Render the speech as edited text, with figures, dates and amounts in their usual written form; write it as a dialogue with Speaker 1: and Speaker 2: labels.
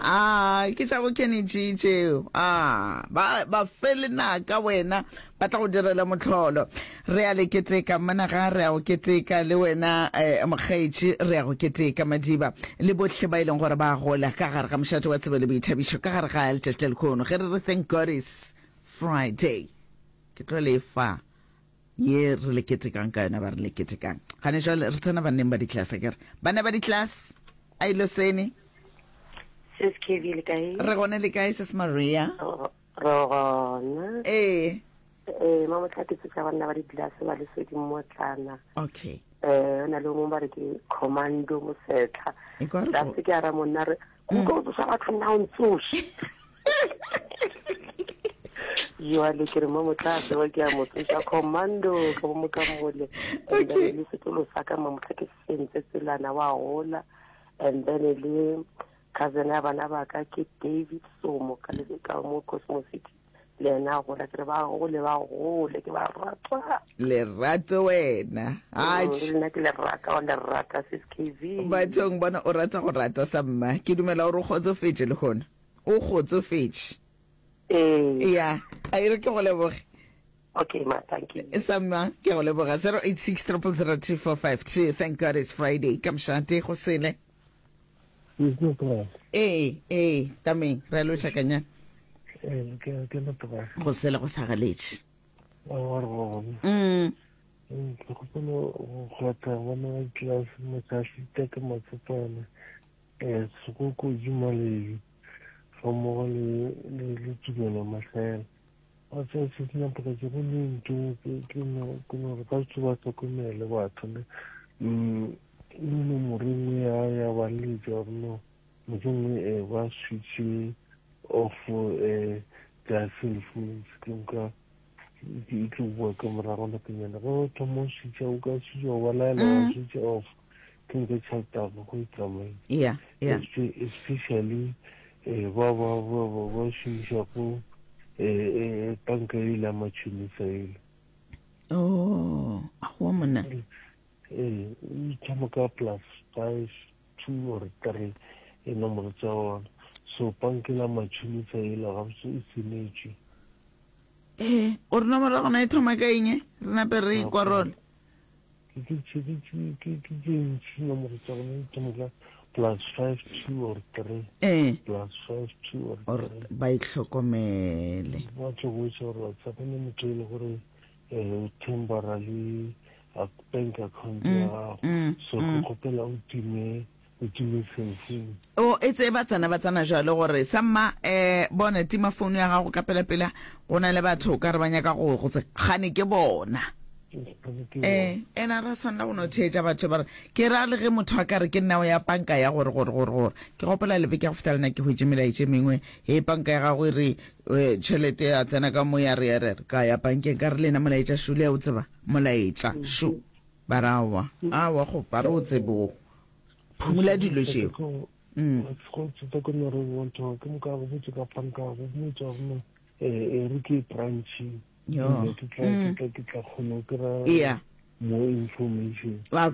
Speaker 1: A ke tša bo Kenny G tšeo. A ba ba fe lenaka wena ba tla go direla mohlolo. Re a le keteka managa, re a go keteka le wena eh, mokgaetši, re a go keteka Madiba le bohle ba e leng gore ba gola ka gare ga mošate wa tsebo le boithabišo ka gare ga letšatši la lehono. Ge re re thank God is Friday, ke tlo le fa ye re le ketekang ka yona ba re le ketekang. Gane jwale re tsena banneng ba di-class akere? Banna ba di-class, a ilo sene.
Speaker 2: Sis KB le kae?
Speaker 1: Re gone le kae Sis Maria?
Speaker 2: Re gona.
Speaker 1: Ee.
Speaker 2: Ee, mamotla ke tsoša banna ba di-glass ba lesedi mmotlana.
Speaker 1: Okay.
Speaker 2: Eh, na le mongwe ba re ke commando mosetlha.
Speaker 1: E kwa re
Speaker 2: Ka
Speaker 1: go-
Speaker 2: se ke a ra monna re, kuka o tsoša batho nna o ntsoše. Jwale ke re mamotla a tsewa ke a mo tsoša commando ka bo mo ka mole. And then
Speaker 1: Okay.
Speaker 2: le sekolo sa ka mamotla ke sentse tselana wa gola. And then le cousin ya bana ba ka ke David Somo ka le ka mo Cosmo City. Le yena a gola ke re ba gole ba gole ke ba rata.
Speaker 1: Lerato wena. Atjhe.
Speaker 2: Le nna ke le rata wa le rata sis KV.
Speaker 1: Bathong bona o rata go rata sa mma. Ke dumela gore o kgotsofetše lehono. O kgotsofetše.
Speaker 2: Ee.
Speaker 1: Ya, a e re ke go leboge.
Speaker 2: Okay ma, thank you.
Speaker 1: Sa mma, ke go leboga. 086 0002452. Thank God it's Friday. Ka mošate go sele. Ee, ee, tameng, re a lotšha kanya.
Speaker 3: Ee, ke ke leboga.
Speaker 1: Go sele go sa galetše.
Speaker 3: Wa re gona.
Speaker 1: Mm.
Speaker 3: Ke kgopela go kgwatha bona ba class Mokasita ke Matsopane eh Sekoko Jumalebi ga mmogo le le le Tumelo Mahlaela. Wa tseba se se nepagetše go le ntho ke ke no ke no re ba tse ba hlokomele batho ne. Mm le nomoro e nngwe ya ya ba letša gore no mohlomongwe eh, ba switche off eh, their cell phones ke nka e tlo boa ka morago nakonyana ge o thoma o switcha o ka switcha o ba laela wa
Speaker 1: Mm.
Speaker 3: switcha off ke nka tšhelete ya gago e tsamaile
Speaker 1: Yeah, yeah.
Speaker 3: Especially eh, ba ba ba ba ba šomišago eh, eh, banka ele ya matšhonisa ele
Speaker 1: Oh, aowa monna.
Speaker 3: Ee, e thoma ka plus 5, 2 or 3 e nomoro tša ona. So panke la matšhonisa ela gabotse e senetšwe.
Speaker 1: Ee, o re nomoro ya gona e thoma ka eng? Re nape re e kwarole.
Speaker 3: Ke ke ke ke ke ke tše ntši nomoro tša gona e thoma ka plus 5, 2 or 3.
Speaker 1: Ee.
Speaker 3: Plus 5, 2 or
Speaker 1: Or
Speaker 3: 3.
Speaker 1: ba itlhokomele.
Speaker 3: Ba tlo botša gore wa tseba go ne motho e le gore eh, o thembara le bank account ya
Speaker 1: mm,
Speaker 3: gago
Speaker 1: mm,
Speaker 3: so ke
Speaker 1: mm.
Speaker 3: kgopela o time o time cell phone
Speaker 1: o e tse ba tsena ba tsena jalo gore samma eh bona tima phone ya gago ka pela pela go na le batho ka re ba nyaka go go tse gane ke bona eh ena ra tshwanela go no theetša batho ba re ke ra le ge motho a ka re ke nna o ya panka ya gore gore gore gore ke gopola lebe ke go feta lena ke hwetše melaetše mengwe he panka ya gago e re eh, tšhelete ya tsena ka mo ya re ya re ka ya bankeng ka re lena molaetša šule o tseba Molaetša šo. Ba re aowa, aowa go ba re o tsebe o phumula dilo tšeo. Mm.
Speaker 3: Go tseta ke no re bontho ke mo ka go botse ka panka go motsa go no eh re ke branch.
Speaker 1: Yo.
Speaker 3: Ke tla ke tla ke tla kgona go kry
Speaker 1: Yeah.
Speaker 3: more information.
Speaker 1: Wa.